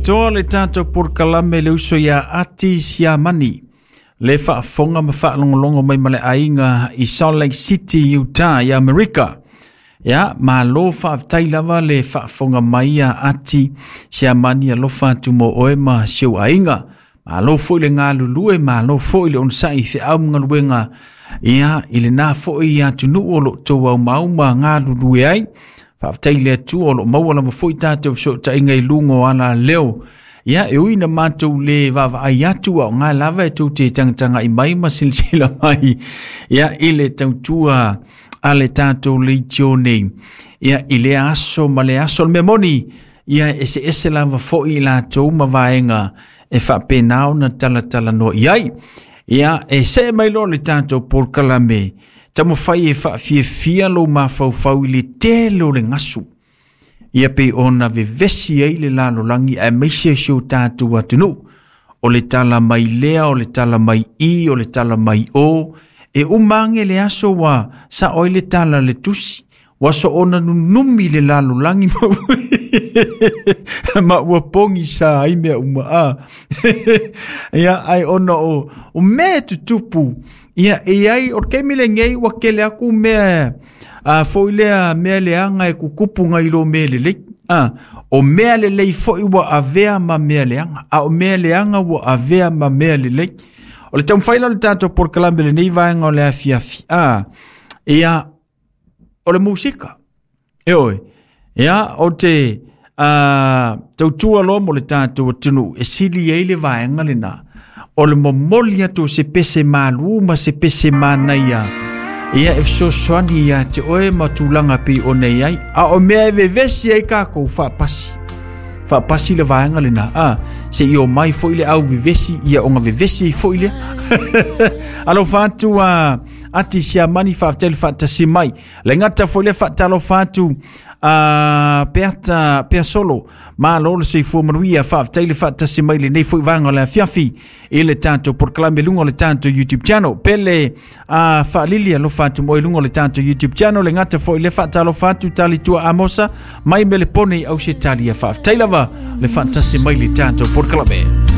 Atoa le tatou polokalame le uso iā Ati Siamani, le faafofoga ma faalogologo mai ma le aiga i Salt Lake City, Utah, i Amerika. Ia, malo faafetai lava le faafofoga mai a Ati Siamani, alofa atu mo oe ma si ou aiga. Malo foi le galulue, malo foi le onosai i feau ma galuega, ia, i lena foi atunuu o lo o outou aumau ma galulue ai. Faafetai i le Atua o lo o maua lava foi tatou fesootaiga i luga o alaleo. Ia, e ui na matou le vaavaai atu, a o ngā lava e tou te tagatagai mai ma silasila mai, ia, i le tautua a le tatou leitio nei. Ia, i lea aso ma le aso, o le mea moni, ia, e eseese lava foi i latou ma vaega e faapena ona talatalanoa i ai. Ia, e see mai loa le tatou polokalame, taumafai e faafiafia lou mafaufau i le tele o le gasu. Ia pei ona vevesi ai le lalolagi aemaise si o tatou atunuu. O le tala mai lea, o le tala mai i, o le tala mai o. E uma age le aso ua sao ai le tala a le tusi. Ua soona nunumi le lalolagi ma ua pogisa ai mea uma a. Ia, ai ona o mea e tutupu. Ia, e i ai, o le taimi lenei ua tele atu mea a foi lea mea leaga e tutupu nai lo mea lelei. A, o mea lelei foi ua avea ma mea leaga, a o mea leaga ua avea ma mea lelei. O le taumafai la o le tatou polokalame lenei vaega o le afiafi. A, ia, o le musika. E oe, ia, o te tautua loa mo le tatou atunuu e sili ai le vaega lena. O le momoli atu o se pese malu ma se pese manaia. Ia e fesoasoani ia te oe ma tulaga pei ona i ai. A o mea e vevesi ai kākou faapasi. Faapasi le vaega lena. A, se i o mai foi le au vevesi, ia ona vevesi ai foi lea. Alofa atu a Ati Siamani, faafetai le faatasi mai. Le gata foi lea faatalofa atu a Peata Peasolo, malo le soifua manuia, faafetai le faatasi mai lenei foi vaega o le afiafi i le tatou polokalame luga o le tatou YouTube channel. Pele a faalili alofa atu mo i luga o le tatou YouTube channel. Le gata foi lea faatalofa atu Talitua Amosa mai Melepone i Ausetalia, faafetai lava le faatasi mai le tatou polokalame.